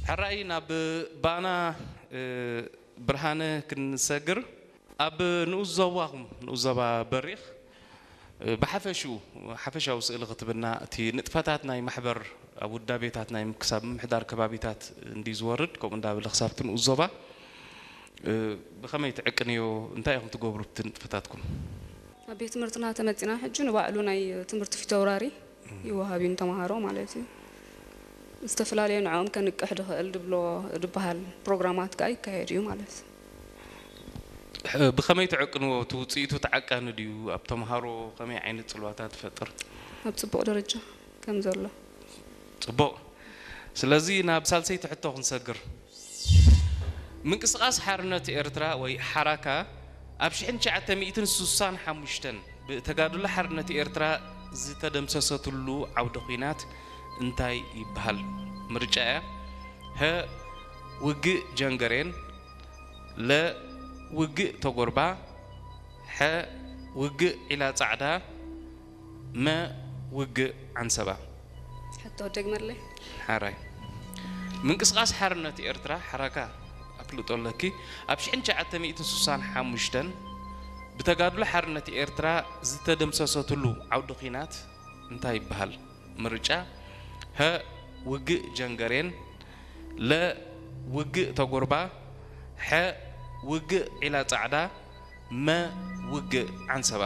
ሕራይ ናብ ባና ብርሃነ ክንሰግር፣ ኣብ ንኡስ ዞባኹም፣ ንኡስ ዞባ በሪኽ፣ ብሓፈሽኡ፣ ሓፈሻዊ ስእሊ ክትብና፣ እቲ ንጥፈታት ናይ ማሕበር ኣብ ውዳቤታት ናይ ክሳብ ምምሕዳር ከባቢታት እንዲ ዝወርድ፣ ከምኡ እንዳበለ ክሳብቲ ንኡስ ዞባ ብኸመይ ትዕቅንዮ? እንታይ ኢኹም ትገብሩ ብቲ ንጥፈታትኩም? ኣብ ቤት ትምህርትና ተመጺና፣ ሕጂ ንባዕሉ ናይ ትምህርቲ ፊተውራሪ ይወሃብ እዩ ንተምሃሮ ማለት እዩ። ዝተፈላለየ ንዕኦም ከንቅሕ ድኽእል ድብሎ ድበሃል ፕሮግራማት ከኣ ይካየድ እዩ ማለት እዩ። ብኸመይ ትዕቅንዎ? እቲ ውጽኢቱ ተዓቃኒ ድዩ? ኣብ ተምሃሮ ከመይ ዓይነት ጽልዋታት ትፈጥር? ኣብ ጽቡቕ ደረጃ ከም ዘሎ። ጽቡቕ። ስለዚ ናብ ሳልሰይቲ ሕቶ ክንሰግር። ምንቅስቃስ ሓርነት ኤርትራ ወይ ሓራካ ኣብ ሽሕን ትሽዓተ ሚእትን ስሳን ሓሙሽተን ብተጋድሎ ሓርነት ኤርትራ ዝተደምሰሰትሉ ዓውደ ኲናት እንታይ ይበሃል? ምርጫ እያ። ሀ፣ ውግእ ጀንገሬን፣ ለ፣ ውግእ ተጎርባ፣ ሐ፣ ውግእ ዒላ ጻዕዳ፣ መ፣ ውግእ ዓንሰባ። ሕቶ ደግመለይ። ሓራይ። ምንቅስቃስ ሓርነት ኤርትራ፣ ሓራካ፣ ኣፍልጦ ኣለኪ፣ ኣብ ሽሕን ትሽዓተ ሚእትን ስሳን ሓሙሽተን ብተጋድሎ ሓርነት ኤርትራ ዝተደምሰሰትሉ ዓውዲ ኲናት እንታይ ይበሃል? ምርጫ፣ ሀ፣ ውግእ ጀንገሬን፣ ለ፣ ውግእ ተጎርባ፣ ሐ፣ ውግእ ዒላ ጻዕዳ፣ መ፣ ውግእ ዓንሰባ።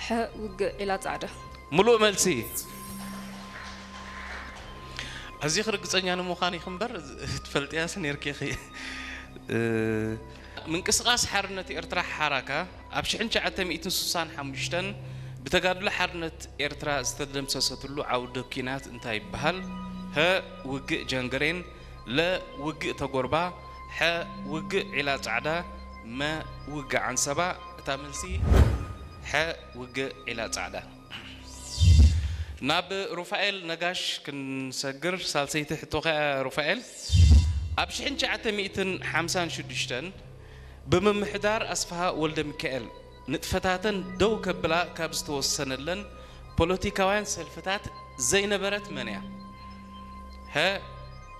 ሐ፣ ውግእ ዒላ ጻዕዳ። ምሉእ መልሲ። ኣዚኺ ርግጸኛ ንምዃን ኢኺ እምበር፣ ትፈልጥያስ ነይርኪ ኢኺ። እ፣ ምንቅስቃስ ሓርነት ኤርትራ፣ ሓራካ፣ ኣብ ሽሕን ትሽዓተ ሚእትን ስሳን ሓሙሽተን ብተጋድሎ ሓርነት ኤርትራ ዝተደምሰሰትሉ ዓውደ ኲናት እንታይ ይበሃል? ሀ፣ ውግእ ጀንገሬን፣ ለ፣ ውግእ ተጎርባ፣ ሐ፣ ውግእ ዒላ ጻዕዳ፣ መ፣ ውግእ ዓንሰባ። እታ መልሲ ሐ፣ ውግእ ዒላ ጻዕዳ። ናብ ሩፋኤል ነጋሽ ክንሰግር፣ ሳልሰይቲ ሕቶኻ እያ ሩፋኤል። ኣብ ሽሕን ትሽዓተ ሚእትን ሓምሳን ሽዱሽተን ብምምሕዳር ኣስፍሃ ወልደ ሚካኤል ንጥፈታተን ደው ከብላ ካብ ዝተወሰነለን ፖለቲካውያን ሰልፍታት ዘይነበረት መን እያ? ሀ፣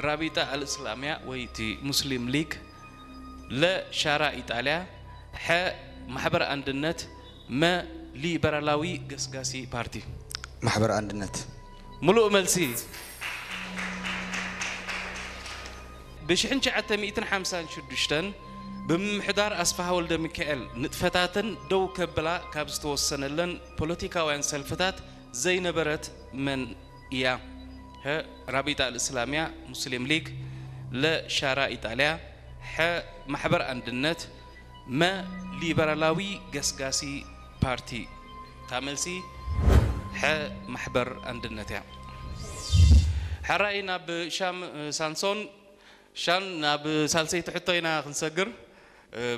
ራቢጣ ኣልእስላምያ ወይ እቲ ሙስሊም ሊግ፣ ለ፣ ሻራ ኢጣልያ፣ ሐ፣ ማሕበር ኣንድነት፣ መ፣ ሊበራላዊ ገስጋሲ ፓርቲ። ማሕበር ኣንድነት። ምሉእ መልሲ። ብ ሽሕን ትሽዓተ ሚእትን ሓምሳን ሽዱሽተን ብምምሕዳር ኣስፍሃ ወልደ ሚካኤል ንጥፈታተን ደው ከብላ ካብ ዝተወሰነለን ፖለቲካውያን ሰልፍታት ዘይነበረት መን እያ? ሀ፣ ራቢጣ ኣልእስላምያ ሙስሊም ሊግ፣ ለ፣ ሻራ ኢጣልያ፣ ሐ፣ ማሕበር ኣንድነት፣ መ፣ ሊበራላዊ ገስጋሲ ፓርቲ። እታ መልሲ ሐ፣ ማሕበር ኣንድነት እያ። ሕራይ ናብ ሻም ሳንሶን። ሻም፣ ናብ ሳልሰይቲ ሕቶ ኢና ክንሰግር።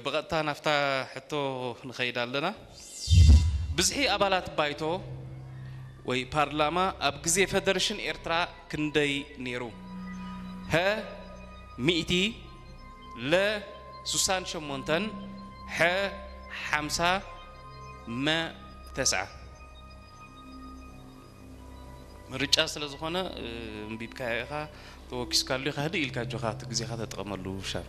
ብቐጥታ ናብታ ሕቶ ንኸይድ ኣለና። ብዝሒ ኣባላት ባይቶ ወይ ፓርላማ ኣብ ግዜ ፈደረሽን ኤርትራ ክንደይ ነይሩ? ሀ፣ ሚእቲ፣ ለ፣ ስሳን ሸሞንተን፣ ሐ፣ ሓምሳ፣ መ፣ ተስዓ። ምርጫ ስለ ዝኾነ፣ እ፣ ኣንቢብካዮ ኢኻ፣ ተወኪስካሉ ኢኻ፣ ህድእ ኢልካ ኣጆኻ፣ እቲ ግዜኻ ተጠቐመሉ ሻም።